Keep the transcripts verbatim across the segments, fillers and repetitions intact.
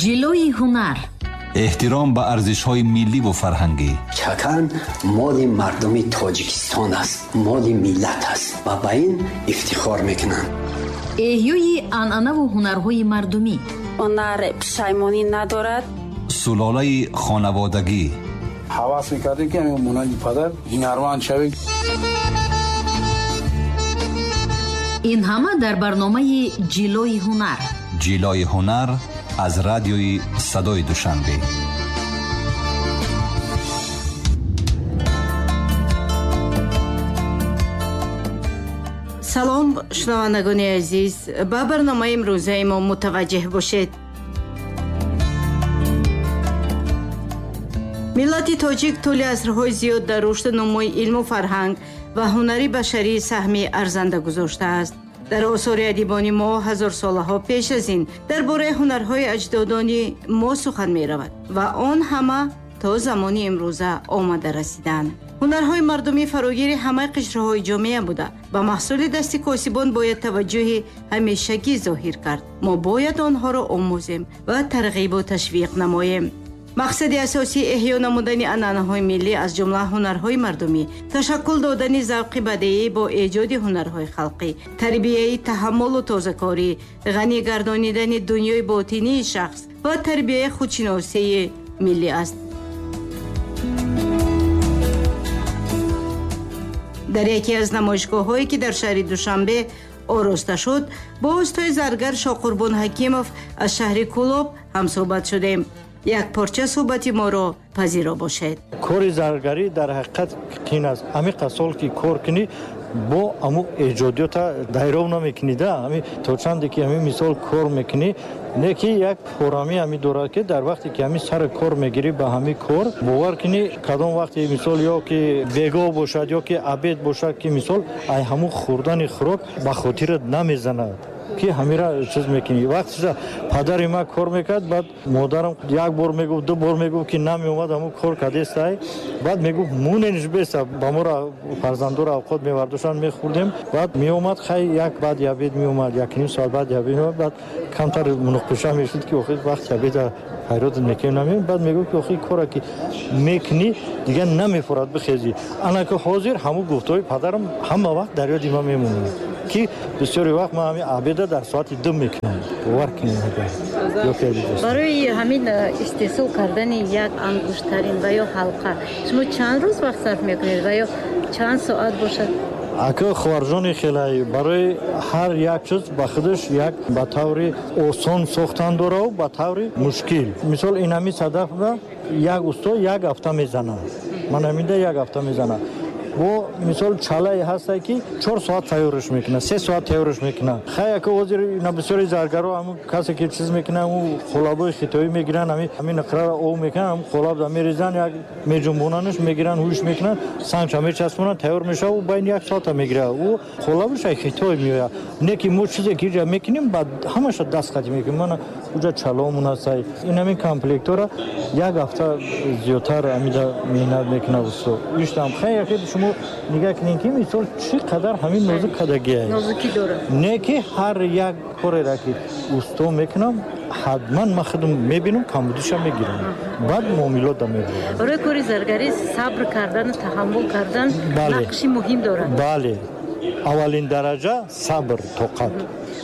Ҷилои ҳунар, эҳтиром ба арзишҳои милливу фарҳангӣ. Чакан моли мардуми Тоҷикистон аст, моли миллат аст ва ба ин ифтихор мекунанд. Эҳёи анъанаву ҳунарҳои мардумӣ. Ҳунар пушаймонӣ надорад. Сулолаи хонаводагӣ. Ҳавас мекардем, ки монанди падар ҳунарманд шавем. Ин ҳама дар барномаи Ҷилои ҳунар. Ҷилои ҳунар аз радиои Садои Душанбе. Салом, шунавандагони азиз, ба барномаи имрӯзаи мо мутаваҷҷеҳ бошед. Миллати тоҷик тӯли асрҳои зиёд дар рушду нумӯи илму фарҳанг ва ҳунари башарӣ саҳми арзанда гузоштааст. Дар осори адибони мо ҳазорсолаҳо пеш аз ин дар бораи ҳунарҳои аҷдодони мо сухан меравад ва он ҳама то замони имрӯза омада расиданд. Ҳунарҳои мардумӣ фарогири ҳамаи қишрҳои ҷомеа буда, ба маҳсули дасти косибон бояд таваҷҷӯҳи ҳамешагӣ зоҳир кард. Мо бояд онҳоро омӯзем ва тарғибу ташвиқ намоем. Мақсади асосии эҳё намудани анъанаҳои миллӣ, аз ҷумла ҳунарҳои мардумӣ, ташаккул додани завқи бадеӣ бо эҷоди ҳунарҳои халқӣ, тарбияи таҳаммулу тозакорӣ, ғанӣ гардонидани дунёи ботинии шахс ва тарбияи худшиносии миллӣ аст. Дар яке аз намоишгоҳҳое, ки дар шаҳри Душанбе ороста шуд, бо устои заргар Шоқурбон Ҳакимов аз шаҳри Кӯлоб ҳамсӯҳбат шудем. Як порча суҳбати моро пазиро бошед. Кори заргарӣ дар ҳақиқат қин аст. Ҳамин сол ки кор кунӣ, бо ҳамун эҷодиёта дайров намекунӣ, да ҳами то чанде ки ҳамин мисол кор мекунӣ, не ки як форамӣ ҳами дорад, ки дар вақте ки ҳамин сари кор мегирӣ, ба ҳамин кор бовар кунӣ, кадом вақте мисол ё ки бегоҳ бошад, ё ки обед бошад, ки мисол ай ҳамун хӯрдани хӯрок ба хотират намезанад, ки ҳамира чиз мекунӣ. Вақтша падари ман кор мекард, баъд модарам як бор мегуфт, ду бор мегуфт, ки намеомад, ҳамун кор кардестай. Баъд мегуфт мунениш беста, ба моро фарзандоро авқот мевардоштанд, мехӯрдем. Баъд меомад, хай як баъди обед меомад, якним соат баъди обед меомад, баъд камтар муноқиша мешуд, ки охир вақти обеда ҳайрот мекунем, намеем. Баъд мегуфт, ки охир кора ки мекунӣ, дигар намефурад бихезӣ. Ана ки ҳозир ҳамун гуфтаҳои падарам ҳама вақт дар ёди ман мемонад, ки бисёри вақт ман ҳамин обеда дар соати ду мекунам. Бовар кунед. Барои ҳамин истеҳсол кардани як ангуштарин ва ё ҳалқа шумо чанд рӯз вақт сарф мекунед ва ё чанд соат бошад? Ака хоҳарҷони хелай, барои ҳар як чиз ба худаш як ба таври осон сохтан дорав, ба таври мушкил. Мисол ин ҳамин садафра як усто як ҳафта мезанад. Ман ҳаминда як ҳафта мезанад. Бо мисол чалае ҳасте, ки чор соат тайёрш мекунад, се соат тайёрш мекунад. Хай ака ҳозир ина бисёри заргаро ҳамун касе ки чиз мекунад, ҳамун қолабҳои хитоӣ мегиранд, ҳамин ҳамин нақраро об мекунанд, ҳамун қолаб да мерезанд, як меҷунбонанаш мегиранд, ҳуш мекунанд, сангча мечаспонанд, тайёр мешавад, ӯ байни як соата мегирад. Ӯ қолабаш ай хитой меояд. Не ки мо чизе ки иҷа мекунем, баъд ҳамаша даст қатӣ мекунем. Мана уҷа чаломон ҳастай. Ин ҳамин комплектора як ҳафта зиёдтар ҳамида меҳнат мекунад усто. Иштам хай яке шумо нигоҳ кунед, ки мисол чӣ қадар ҳамин нозук кадагиай. Нозукӣ дорад. Не ки ҳар як кореро ки усто мекунам, ҳатман ман худам мебинам, камбудиша мегирам. Баъд муомилота мебарам. Барои кори заргарӣ сабр кардану таҳаммул кардан нақши муҳим дорад. Бале. Аввалин дараҷа сабр, тоқат.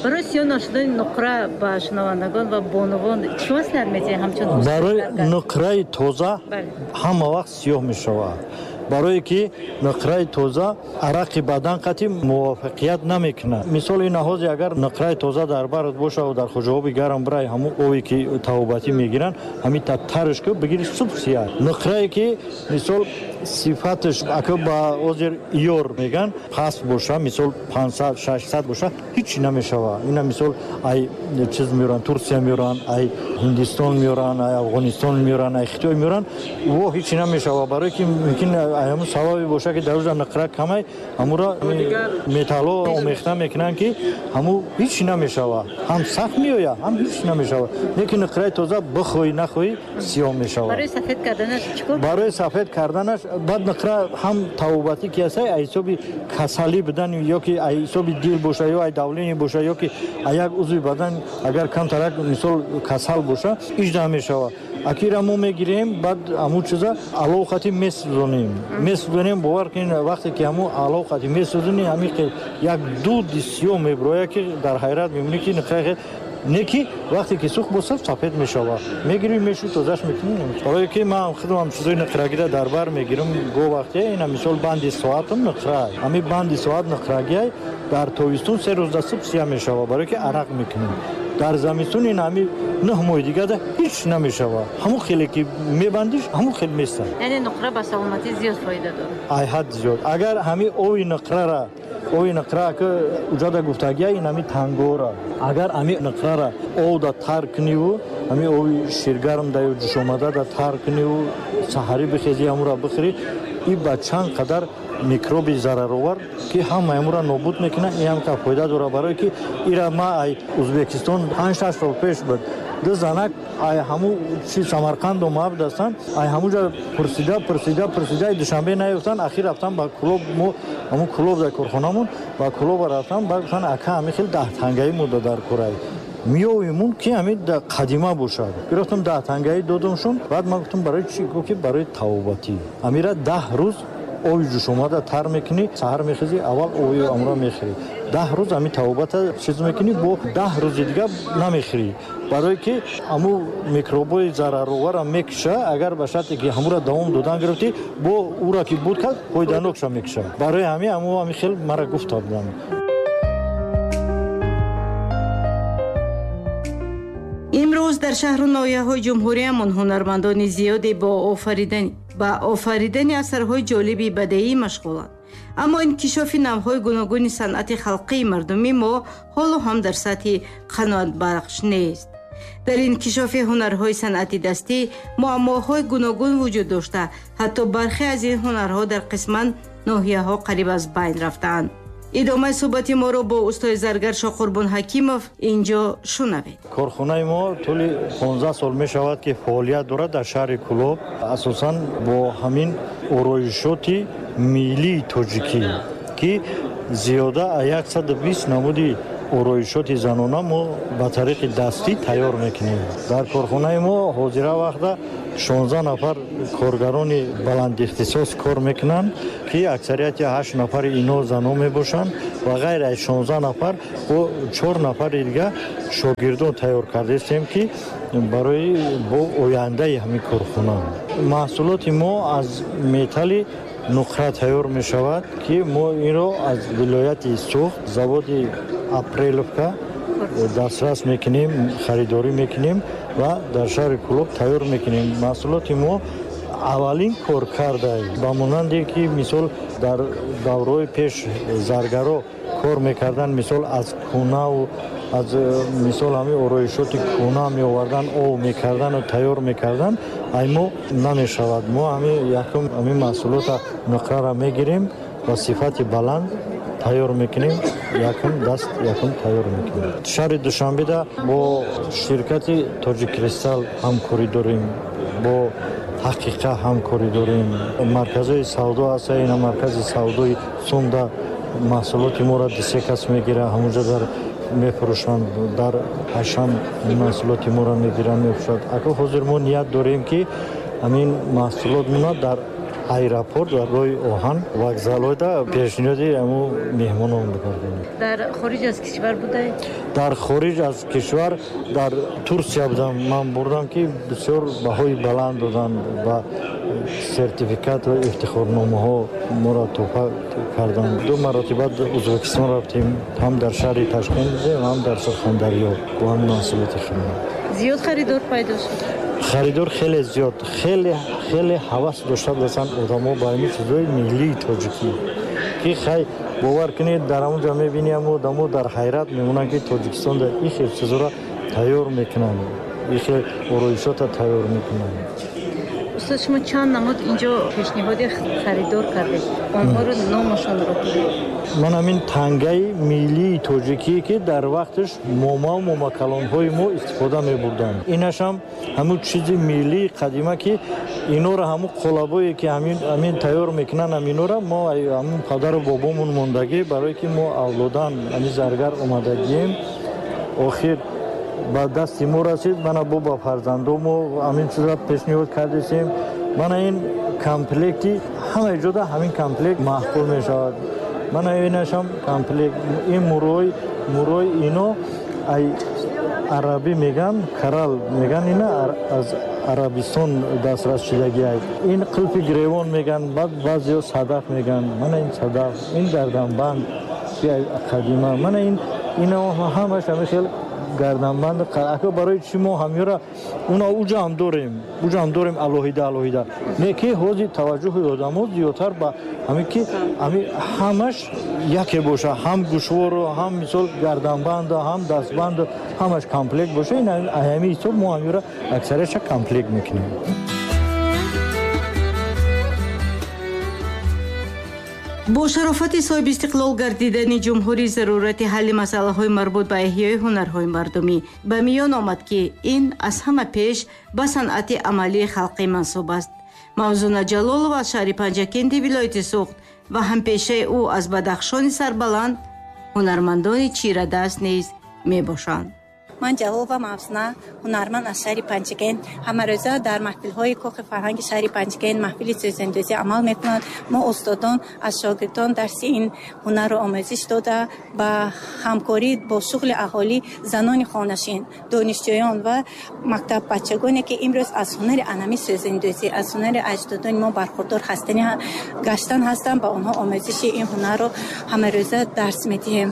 Барои сиёҳ нашудани нуқра ба шунавандагон ва бонувон чӣ маслиҳат медиҳед ҳамчун устод? Барои нуқраи тоза ҳама вақт сиёҳ мешавад. Барое ки нуқраи тоза арақи бадан қатъи мувофиқият намекунад. Мисол ин ҳози агар нуқраи тоза дар барат бошад ва дар хоҷаоби гарм бирай, ҳамун обе ки тавобатӣ мегиранд, ҳамин та тарш ку бигири субҳ сиёҳ. Нуқрае ки мисол сифаташ ака ба ҳозир иёр меган паст боша, мисол панҷсад, шашсад боша, ҳеҷ намешавад. Ина мисол ай чиз меоранд, Турсия меоранд, ай Ҳиндистон меоранд, ай Афғонистон меоранд, ай Хитой меоранд, во ҳеҷ намешавад. Барое ки мумкин ҳамун сабабе бошад, ки дар уҷа нуқра камай, ҳамура металло омехта мекунанд, ки ҳаму ҳеҷ намешавад. Ҳам сахт меояд, ҳам ҳеҷ намешавад. Лекин нуқраи тоза бихоҳӣ нахоҳӣ сиёҳ мешавад. Барои сафед карданаш чӣ кор? Барои сафед карданаш баъд нуқра ҳам тавобатӣ ки ҳаст, ай ҳисоби касалӣ будан ё ки ай ҳисоби дил бошад, ё ай давление бошад, ё ки як узви бадан агар камтарак мисол касал боша, ижда мешава. Акира мо мегирем, баъд ҳамун чиза алов хати месӯзонем. Месӯзонем, бовар кунед, вақте ки ҳамун алов хати месӯзонем, ҳамин хел як дуди сиёҳ меброяд, ки дар ҳайрат мемонӣ, ки нихай не ки вақте ки сӯхт бошад, сафед мешавад. Мегирем, мешӯй, тозаш мекунем. Барое ки ман худам чизои нуқрагиро дар бар мегирам, го вақте ина мисол банди соатам нуқра. Ҳамин банди соат нуқрагиай дар тобистон се рӯз дастуб сия мешавад, барое ки арақ мекунем. Дар замистон ин ҳами нӯҳ моҳи дигар ҳеч намешавад. Ҳамун хеле ки мебандиш, ҳамун хел местад. Яъне нуқра ба саломатӣ зиёд фоида дорад. Ай ҳад зиёд. Агар ҳами ови нуқрара, ови нуқра ки уҷада гуфтагия, ин ҳами тангора. Агар ҳами нуқрара овда тар куниву, ҳами ови ширгарм да ё ҷӯшомада да тар куниву, саҳарӣ бихезӣ, ҳамура бихӯрӣ, и ба чанд қадар микроби зараровар ки ҳамаи ҳамура нобуд мекунад, ин ҳам ка фоида дорад. Барое ки ира ма ай Узбекистон панҷ-шаш сол пеш буд, ду занак ай ҳаму чи Самарқанд омада будастанд, ай ҳамуҷа пурсида пурсида пурсида Душанбе наёфтанд, ахир рафтан ба Кулоб. Мо ҳамун Кулоб дар корхонамон ба Кулоба рафтан, баъд гуфтанд ака ҳамин хел даҳтангаи мо дар курай миёвимун ки ҳамин қадима бошад. Гирифтам даҳтангаи додамшон. Баъд ман гуфтам барои чӣ? Гуфт ки барои тавобатӣ. Амира даҳ рӯз ови ҷӯшомада тар мекунӣ, саҳар мехезӣ, аввал ови амра мехӯрӣ. Даҳ рӯз ҳамин тавобата чиз мекунӣ, бо даҳ рӯзи дигар намехӯрӣ. Барое ки ҳамун микробҳои зарароварро мекуша, агар ба шарте ки ҳамура давом додан гирифтӣ, бо ура ки буд кард, фоиданокша мекуша. Барои ҳамин ҳамун ҳамин хел мара гуфта буданд. Имрӯз дар шаҳру ноҳияҳои ҷумҳуриямон ҳунармандони зиёде бо офаридани ба офаридани асарҳои ҷолиби бадеӣ машғуланд. Аммо инкишофи навъҳои гуногуни санъати халқии мардумӣ мо ҳоло ҳам дар сатҳи қаноатбахш нест. Дар инкишофи ҳунарҳои санъати дастӣ муаммоҳои гуногун вуҷуд дошта, ҳатто бархе аз ин ҳунарҳо дар қисман ноҳияҳо қариб аз байн рафтаанд. Идомаи суҳбати моро бо устои заргар Шоқурбон Ҳакимов инҷо шунавед. Корхонаи мо тӯли понздаҳ сол мешавад ки фаъолият дорад дар шаҳри Кулоб, асосан бо ҳамин ороишоти миллии тоҷикӣ, ки зиёда аз яксаду бист намуди ороишоти занона мо ба тариқи дастӣ тайёр мекунем. Дар корхонаи мо ҳозира вақта шонздаҳ нафар коргарони баландихтисос кор мекунанд, ки аксарияти ҳашт нафари ино занон мебошанд ва ғайр аз шонздаҳ нафар бо чор нафари дигар шогирдон тайёр кардаистем, ки барои бо ояндаи ҳамин корхона. Маҳсулоти мо аз металли нуқра тайёр мешавад, ки мо инро аз вилояти Суғд, заводи Апреловка дастрас мекунем, харидорӣ мекунем ва дар шаҳри Кулоб тайёр мекунем. Маҳсулоти мо аввалин кор карда, ба монанде ки мисол дар давраҳои пеш заргаро кор мекарданд, мисол аз кунаву аз мисол ҳамин ороишоти куна меовардан, ов мекардану тайёр мекардан, ай мо намешавад. Мо ҳамин якум ҳамин маҳсулота нуқрара мегирем ва сифати баланд тайёр мекунем, якум даст якум тайёр мекунем. Шаҳри Душанбеда бо ширкати Тоҷиккристал ҳамкорӣ дорем, бо Ҳақиқа ҳамкорӣ дорем. Марказҳои савдо ҳаста, ина маркази савдои Сумда маҳсулоти моро ду-се кас мегирад, ҳамунҷо дар мефурӯшанд, дар ҳашам маҳсулоти моро мегиранд, мефурӯшанд. Ака ҳозир мо ният дорем, ки ҳамин маҳсулотмона дар аэропорт ва роҳи оҳан вокзалҳода пешниҳоди ҳамун меҳмонон бикардем. Дар хориҷ аз кишвар будаед? Дар хориҷ аз кишвар дар Турсия будам. Ман бурдам, ки бисёр баҳои баланд доданд ва сертификат ва ифтихорномаҳо моро тӯҳфа карданд. Ду маротиба Узбекистон рафтем, ҳам дар шаҳри Ташкент будем, ҳам дар Сурхондарё бо ҳамин маҳсулоти худмон. Зиёд харидор пайдо шуд? Харидор хеле зиёд, хеле хеле ҳавас дошта буданд одамо ба ҳамин чизҳои миллии тоҷикӣ, ки хай бовар кунед, дар ҳамон ҷо мебинем одамо дар ҳайрат мемонанд, ки Тоҷикистон дар ин хел чизҳоро тайёр мекунанд, ин хел ороишотро тайёр мекунанд. Устод, шумо чанд намуд инҷо пешниҳоди харидор кардед? Онҳоро номашонро бигӯед. Ман ҳамин тангаи миллии тоҷикӣ, ки дар вақташ момаву момакалонҳои мо истифода мебурданд, инашам ҳамун чизи миллии қадима, ки инора ҳамун қолабое ки ҳамин тайёр мекунанд, ҳаминора мо ҳамун падару бобомон мондагӣ, барое ки мо авлодан ҳамин заргар омадагием. Охир ба дасти мо расид. Мана бо ба фарзандомо ҳамин чизро пешниҳод кардесем. Мана ин комплекти ҳама ҷода ҳамин комплект маъқул мешавад. Мана инашам комплект, ин мурой, мурой ино ай арабӣ меган, карал меган, ина аз Арабистон дастрас шудагӣ. Ин қулфи гиревон меган, баъд баъзеҳо садаф меган. Мана ин садаф, ин гарданбанд қадима. Мана ин ино ҳамаш ҳамин хел гарданбанд. Ака барои чӣ мо ҳамёра уна уҷа ҳам дорем, уҷа ҳам дорем алоҳида алоҳида. Не ки ҳозир таваҷҷӯҳи одамо зиёдтар ба ҳамин ки ҳамин ҳамаш яке боша, ҳам гӯшвору, ҳам мисол гарданбанду, ҳам дастбанду, ҳамаш комплект боша. Ин ҳамин ҳисоб мо ҳамёра аксариятша комплект мекунем. Бо шарофати соҳиби истиқлол гардидани ҷумҳурӣ зарурати ҳалли масъалаҳои марбут ба эҳёи ҳунарҳои мардумӣ ба миён омад, ки ин аз ҳама пеш ба санъати амалии халқӣ мансуб аст. Мавзуна Ҷалолова аз шаҳри Панҷакенти вилояти Суғд ва ҳампешаи ӯ аз Бадахшони сарбаланд ҳунармандони чирадаст низ мебошанд. Ман Ҷалолова Мавзуна, ҳунарманд аз шаҳри Панҷакент. Ҳамарӯза дар маҳфилҳои кохи фарҳанги шаҳри Панҷакент маҳфили сӯзандӯзӣ амал мекунад. Мо устодон аз шогирдон дарси ин ҳунарро омӯзиш дода, ба ҳамкорӣ бо шуғли аҳолӣ, занони хонашин, донишҷӯён ва мактаббачагоне, ки имрӯз аз ҳунари анами сӯзандӯзӣ, аз ҳунари аҷдодони мо бархурдор ҳастани гаштан ҳастанд, ба онҳо омӯзиши ин ҳунарро ҳамарӯза дарс медиҳем.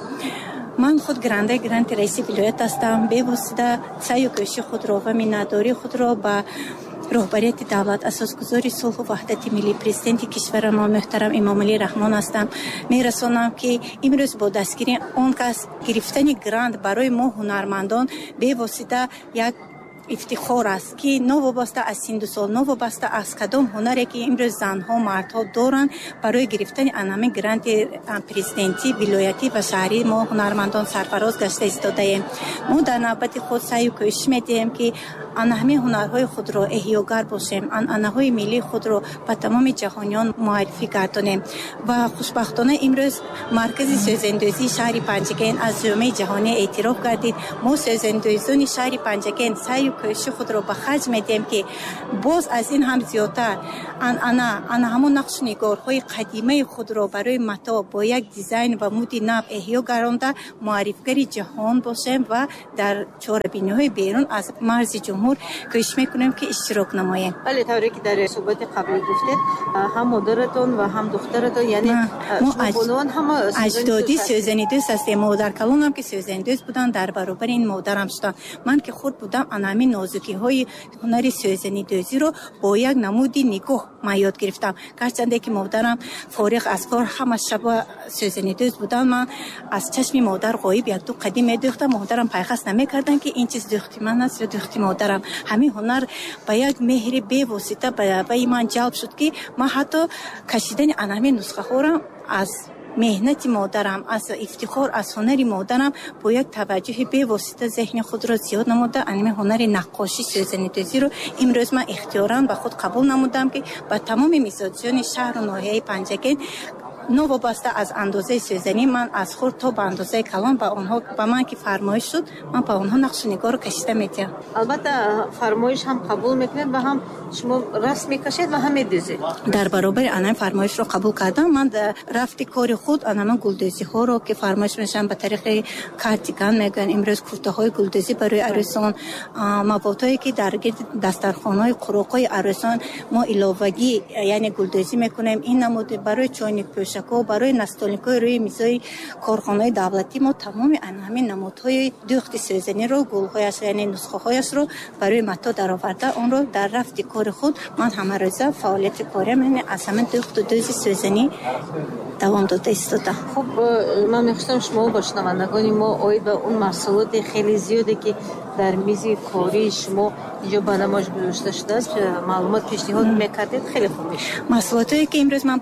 Ман худ гирандаи гранти раиси вилоят ҳастам. Бевосита саъю кӯшиши худро ва миннатдории худро ба роҳбарияти давлат, асосгузори сулҳу ваҳдати миллӣ, президенти кишварамон муҳтарам Эмомалӣ Раҳмон ҳастам. Мерасонам, ки имрӯз бо дастгирии он кас гирифтани грант барои мо ҳунармандон бевосита як ифтихор аст, ки новобаста аз синну сол, новобаста аз кадом ҳунаре, ки имрӯз занҳо, мардҳо доранд, барои гирифтани анами гранти президентӣ, вилоятӣ ва шаҳрӣ мо ҳунармандон сарфароз гашта истодаем. Мо дар навбати худ саъю кӯшиш медиҳем, ки ана ҳамин ҳунарҳои худро эҳёгар бошем, анъанаҳои миллии худро ба тамоми ҷаҳониён муаррифӣ гардонем. Ва хушбахтона имрӯз маркази сӯзандӯзии шаҳри Панҷакент аз ҷомеаи ҷаҳонӣ эътироф гардид. Мо сӯзандӯзони шаҳри Панҷакент саъю кӯшиши худро ба харҷ медиҳем, ки боз аз ин ҳам зиёдтар анъана, ана ҳамон нақшу нигорҳои қадимаи худро барои матоъ бо як дизайн ва муди нав эҳё гардонда муаррифгари ҷаҳон бошем ва дар чорабиниҳои берун аз марзи ҷумҳур кӯшиш мекунем, ки иштирок намоем. Бале, тавре ки дар суҳбати қаблӣ гуфтед, ҳам модаратон ва ҳам духтаратон, яъне шумо ҳама аҷдодӣ сӯзанидӯз ҳастем. Модаркалонам ки сӯзанидӯз буданд, дар баробари ин модарам шуданд. Ман ки хурд будам, ана ҳамин нозукиҳои ҳунари сӯзанидӯзиро бо як намуди нигоҳ ман ёд гирифтам. Гарчанде ки модарам фориғ аз кор ҳама шаба сӯзанидӯз буданд, ман аз чашми модар ғоиб якду қадим медӯхтам. Модарам пайхас намекарданд, ки ин чиз дӯхти ман аст ё дӯхти модарам. Ҳамин ҳунар ба як меҳри бевосита ба ман ҷалб шуд, ки ман ҳатто кашидани ана ҳамин нусхаҳоро аз меҳнати модарам, аз ифтихор аз ҳунари модарам бо як таваҷҷӯҳи бевосита зеҳни худро зиёд намуда, ана ҳунари наққошӣ, сӯзанидӯзиро имрӯз ман ихтиёран ба худ қабул намудам, ки ба тамоми мизоҷони шаҳру ноҳияи Панҷакент новобаста аз андозаи сӯзанӣ, ман аз хурд то ба андозаи калон ба онҳо, ба ман ки фармоиш шуд, ман ба онҳо нақшу нигорро кашида медиҳам. Албатта фармоиш ҳам қабул мекунед ва ҳам шумо расм мекашед ва ҳам медӯзед. Дар баробари ана фармоишро қабул кардам, ман дар рафти кори худ ана ман гулдӯзиҳоро ки фармоиш мешаванд ба тариқи картикан мегӯянд, имрӯз куртаҳои гулдӯзӣ барои арӯсон, маводҳое ки дар гирди дастархонаҳои қуроқҳои арӯсон мо иловагӣ, яъне гулдӯзӣ мекунем, ин намуд барои чойникпӯша, барои настолникҳои рӯи мизои корхонаҳои давлатӣ мо тамоми ана ҳамин намудҳои дӯхти сӯзаниро, гулҳояш, яъне нусхаҳояшро барои матоъ дароварда, онро дар рафти кори худ ман ҳамарӯза фаъолияти кориам, яъне аз ҳамин дӯхту дӯзи сӯзанӣ давом дода истода. Хуб, ман мехостам шумо ба шунавандагони мо оид ба он маҳсулоти хеле зиёде, ки дар мизи кории шумо инҷо ба намоиш гузошта шудааст, маълумот пешниҳод мекардед, хеле хуб мешуд. Маҳсулотое ки имрӯз ман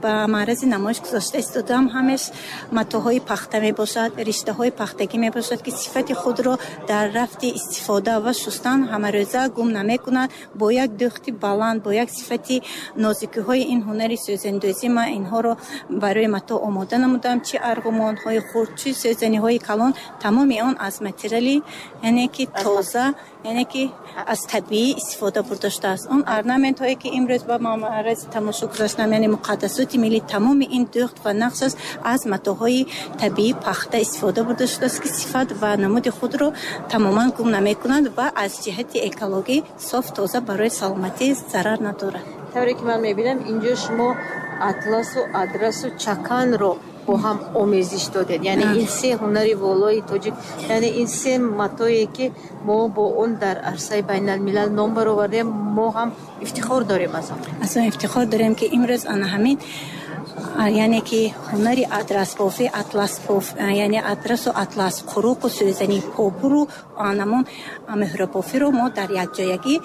ба маърази намоиш гузошта истодаам, ҳамеш матоъҳои пахта мебошад, риштаҳои пахтагӣ мебошад, ки сифати худро дар рафти истифода ва шустан ҳамарӯза гум намекунад. Бо як дӯхти баланд, бо як сифати нозукиҳои ин ҳунари сӯзандӯзӣ ман инҳоро барои матоъ омода намудам, чи арғумонҳои хурд, чи сӯзаниҳои калон, тамоми он аз материали, яъне ки тоза, яъне ки аз табиӣ истифода бурда шудааст. Он орнаментҳое ки имрӯз ба маърази тамошо гузоштам, яъне муқаддасоти миллӣ, тамоми ин дӯхт ва нақш аст аз матоъҳои табиӣ пахта истифода бурда шудааст, ки сифат ва намуди худро тамоман гум намекунанд ва аз ҷиҳати экологӣ соф тоза, барои саломатӣ зарар надорад. Тавре ки ман мебинам, инҷо шумо атласу адрасу чаканро бо ҳам омезиш додед. Яъне ин се ҳунари волои тоҷик, яъне ин се матое ки мо бо он дар арсаи байналмилал ном баровардем, мо ҳам ифтихор дорем аз он. Аз он ифтихор дорем, ки имрӯз ана ҳамин, яъне ки ҳунари адрасбофӣ, атласбоф, яъне адрасу атлас, қуруқу сӯзани, попуру анамон меҳрабофиро мо дар якҷоягӣ,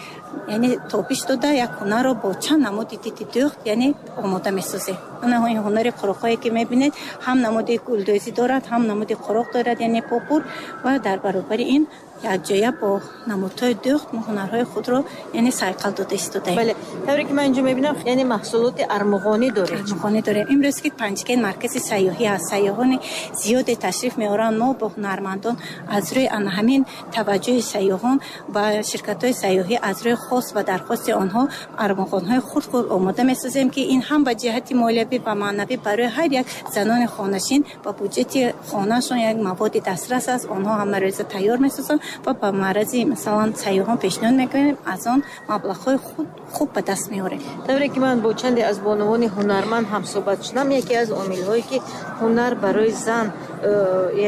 яъне тобиш дода, як ҳунарро бо чанд намуди диди дӯхт, яъне омода месозем. Ана ин ҳунари қуруқҳое ки мебинед, ҳам намуди гулдӯзӣ дорад, ҳам намуди қуруқ дорад, яъне попур, ва дар баробари ин якҷоя бо намудҳои дӯхт мо ҳунарҳои худро, яъне сайқал дода истодаем. Бале, тавре ки ман инҷо мебинам, яъне маҳсулоти армуғонӣ доред. Армуғонӣ дорем. Имрӯз ки Панҷакент маркази сайёҳӣ аст, сайёҳони зиёде ташриф меоранд. Мо бо ҳунармандон аз рӯи ана ҳамин таваҷҷӯҳи сайёҳон ба ширкатҳои сайёҳӣ, аз рӯи хост ва дархости онҳо армуғонҳои хурд-хурд омода месозем, ки ин ҳам ба ҷиҳати молиявӣ ва маънавӣ барои ҳар як занони хонашин ба буҷети хонаашон як маводи дастрас аст. Онҳо ҳамарӯза тайёр месозанд ва ба маърази масалан сайёҳон пешниҳод мекунем, аз он маблағҳои худ хуб ба даст меорем. Тавре ки ман бо чанде аз бонувони ҳунарманд ҳамсӯҳбат шудам, яке аз омилҳое ки ҳунар барои зан,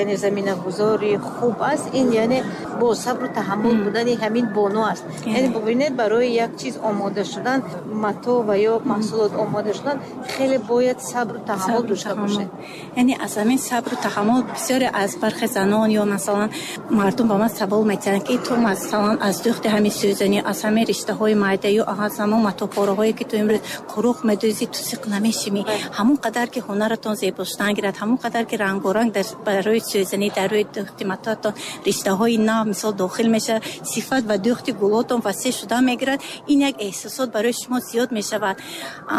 яъне заминагузори хуб аст, ин яъне бо сабру таҳаммул будани ҳамин бону аст. Яъне бубинед, барои як чиз омода шудан, матоъ ва ё маҳсулот омода шудан, хеле бояд сабру таҳаммул дошта бошед. Яъне аз ҳамин сабру таҳаммул бисёре аз бархе занон ё масалан мардум ба ман савол метиҳанд, ки ту масалан аз дӯхти ҳамин сӯзанӣ, аз ҳамин риштаҳои майда ё аз ҳамон матоъпораҳое ки ту имрӯз қуруқ медӯзӣ, ту сиқ намешимӣ. Ҳамон қадар ки ҳунаратон зебо шудан гирад, ҳамон қадар ки рангоранг дар барои сӯзанӣ, дар рӯи дӯхти матоатон риштаҳои нав мисол дохил мешавад, сифат ва дӯхти гулотон васеъ шуда мегирад. Ин як эҳсосот барои шумо зиёд мешавад.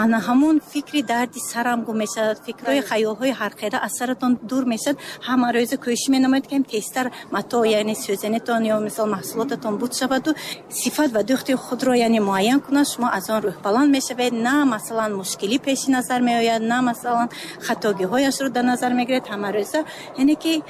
Ана ҳамон фикри дарди сарам гум мешавад, фикрҳои хаёлҳои ҳархела аз саратон дур мешавад. Ҳама рӯза кӯшиш менамоед, ки тезтар матоъ, яъне сӯзанитон ё мисол маҳсулотатон буд шаваду сифат ва дӯхти худро, яъне муайян кунад. Шумо аз он рӯҳбаланд мешавед, на масалан мушкилӣ пеши назар меояд, на масалан хатогиҳояшро дар назар мегиред. Ҳама рӯза, яъне ки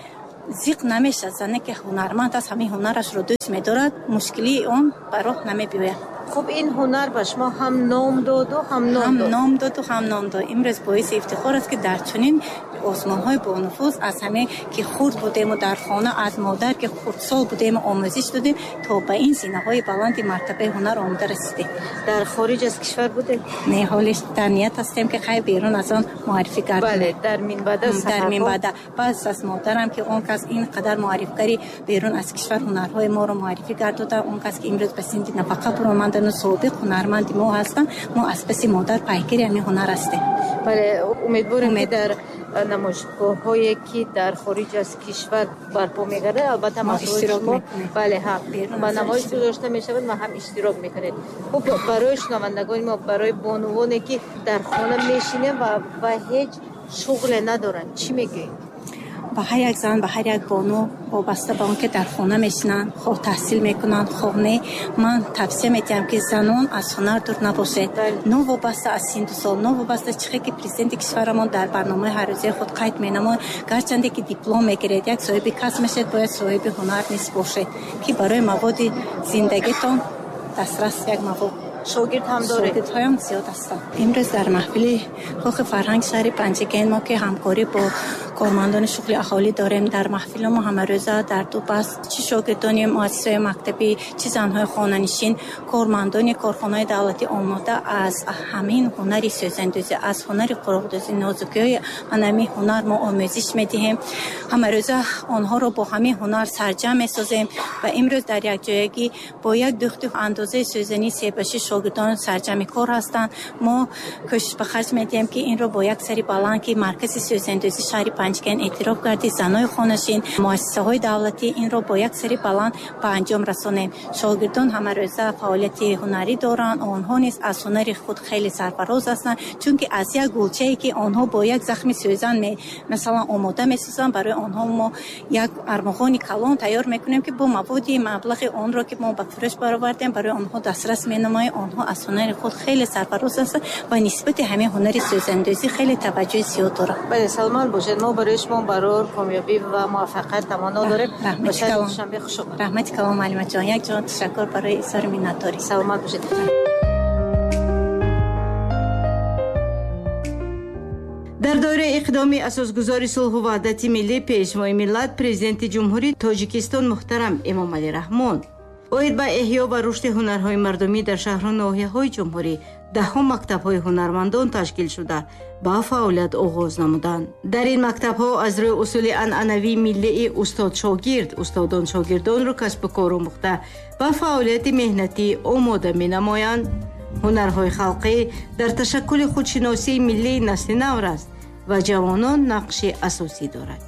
зиқ намешавад. Зане ки ҳунарманд аст, ҳамин ҳунарашро дӯст медорад, мушкилии он ба роҳ намебиёяд. Хуб, ин ҳунар ба шумо ҳам ном доду, ҳам ном дод. Ҳам ном доду, ҳам ном дод. Имрӯз боиси ифтихор аст, ки дар чунин озмунҳои бонуфуз аз ҳаме ки хурд будему дар хона аз модар ки хурдсол будему омӯзиш додем, то ба ин зинаҳои баланди мартабаи ҳунар омода расидем. Дар хориҷ аз кишвар будем? Не, ҳолиш дар ният ҳастем, ки хай берун аз он муаррифӣ гардем. Бале, дар минбаъда сафарҳо. Дар минбаъда. Пас аз модарам ки он кас ин қадар муаррифгари берун аз кишвар ҳунарҳои моро муаррифӣ гардода, он кас ки имрӯз ба синни нафақа баромадану собиқ ҳунарманди мо ҳастанд, мо аз паси модар пайгири ҳамин ҳунар ҳастем. Бале, умедворем, ки дар намоишгоҳҳое ки дар хориҷ аз кишвар барпо мегардад, албатта маҳсулоти шумо, бале, ҳам ба намоиш гузошта мешавад ва ҳам иштирок мекунед. Хуб, барои шунавандагони мо, барои бонувоне ки дар хона мешинанд ва ва ҳеҷ шуғле надоранд, чӣ мегӯед? Ба ҳар як зан, ба ҳар як бону, вобаста ба он ки дар хона мешинанд, хоҳ таҳсил мекунанд, хоҳ не, ман тавсия медиҳам, ки занон аз ҳунар дур набошед. Новобаста аз синну сол, новобаста чихе ки президенти кишварамон дар барномаи ҳаррӯзаи худ қайд менамояд, гарчанде ки диплом мегиред, як соҳиби касб мешавед, бояд соҳиби ҳунар низ бошед, ки барои маводи зиндагитон дастрас як мавод. Шогирд ҳам доред? Шогирдҳоям зиёд ҳастанд. Имрӯз дар маҳфили Кохи фарҳанг шаҳри Панҷакент мо ки ҳамкорӣ бо кормандони шуғли аҳолӣ дорем, дар маҳфили мо ҳамарӯза дар ду баст чи шогирдони муассисаҳои мактабӣ, чи занҳои хонанишин, кормандони корхонаҳои давлатӣ омода аз ҳамин ҳунари сӯзандӯзӣ, аз ҳунари қуруқдӯзӣ, нозукиҳои ҳамин ҳунар мо омӯзиш медиҳем. Ҳамарӯза онҳоро бо ҳамин ҳунар сарҷамъ месозем ва имрӯз дар якҷоягӣ бо як дӯхти андозаи сӯзанӣ себаши шогирдон сарҷамъи кор ҳастанд. Мо кӯшиш ба харҷ медиҳем, ки инро бо як сари баланд, ки маркази сӯзандӯзӣ шаҳри Панҷакент эътироф гардид, занои хонашин, муассисаҳои давлатӣ инро бо як сари баланд ба анҷом расонем. Шогирдон ҳамарӯза фаъолияти ҳунарӣ доранд. Онҳо низ аз ҳунари худ хеле сарфароз ҳастанд, чунки аз як гулчае ки онҳо бо як захми сӯзан масалан омода месозанд, барои онҳо мо як армуғони калон тайёр мекунем, ки бо маводи маблағи онро ки мо ба фурӯш баровардем, барои онҳо дастрас менамоем. Онҳо аз ҳунари худ хеле сарфароз ҳастанд ва нисбати ҳамин ҳунари сӯзандӯзӣ хеле таваҷҷӯҳи зиёд доранд. Бале, саломат бошед. Мо барои шумо барор комёбӣ ва муваффақият таманно дорем. Ба шаҳри Душанбе хуш омадед. Раҳмати калон, муаллимаҷон. Як ҷон ташаккур барои изҳори миннатдорӣ. Саломат бошед. Дар доираи иқдоми асосгузори сулҳу ваҳдати миллӣ, Пешвои миллат, Президенти Ҷумҳурии Тоҷикистон муҳтарам Эмомалӣ Раҳмон оид ба эҳё ва рушди ҳунарҳои мардумӣ дар шаҳру ноҳияҳои ҷумҳурӣ даҳҳо мактабҳои ҳунармандон ташкил шуда ба фаъолият оғоз намуданд. Дар ин мактабҳо аз рӯи усули анъанавии миллии устод-шогирд, устодон шогирдонро касбу кор омӯхта ба фаъолияти меҳнатӣ омода менамоянд. Ҳунарҳои халқӣ дар ташаккули худшиносии миллии насли навраст ва ҷавонон нақши асосӣ дорад.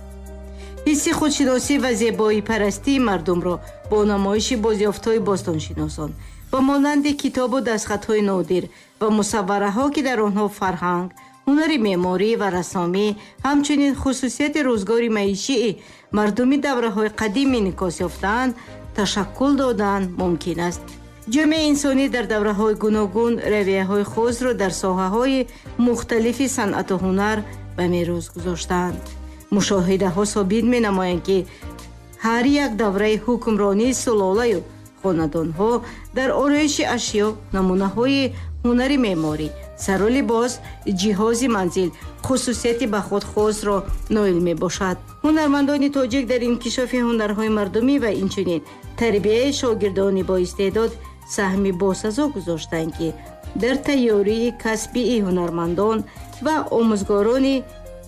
Ҳисси худшиносӣ ва зебоипарастии мардумро бо намоиши бозёфтҳои бостоншиносон ба монанди китобу дастхатҳои нодир ва мусаввараҳо, ки дар онҳо фарҳанг, ҳунари меъморӣ ва рассомӣ, ҳамчунин хусусияти рӯзгори маишии мардуми давраҳои қадим инъикос ёфтаанд, ташаккул додан мумкин аст. Ҷомеаи инсонӣ дар давраҳои гуногун равияҳои хосро дар соҳаҳои мухталифи санъату ҳунар ба мерос гузоштаанд. Мушоҳидаҳо собит менамоянд, ки ҳар як давраи ҳукмронии сулолаю хонадонҳо дар ороиши ашё, намунаҳои ҳунари меъморӣ, сару либос, ҷиҳози манзил хусусияти ба худ хосро ноил мебошад. Ҳунармандони тоҷик дар инкишофи ҳунарҳои мардумӣ ва инчунин тарбияи шогирдони боистеъдод саҳми босазо гузоштанд, ки дар тайёрии касбии ҳунармандон ва омӯзгорони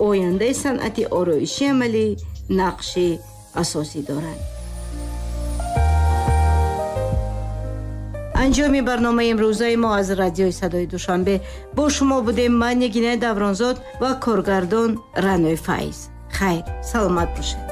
ояндаи санъати ороиши амалӣ нақши асосӣ доранд. Анҷоми барномаи имрӯзаи мо аз радиои Садои Душанбе бо шумо будем ман Нигинаи Давронзод ва коргардон Ранои Файз. Хайр, саломат бошед.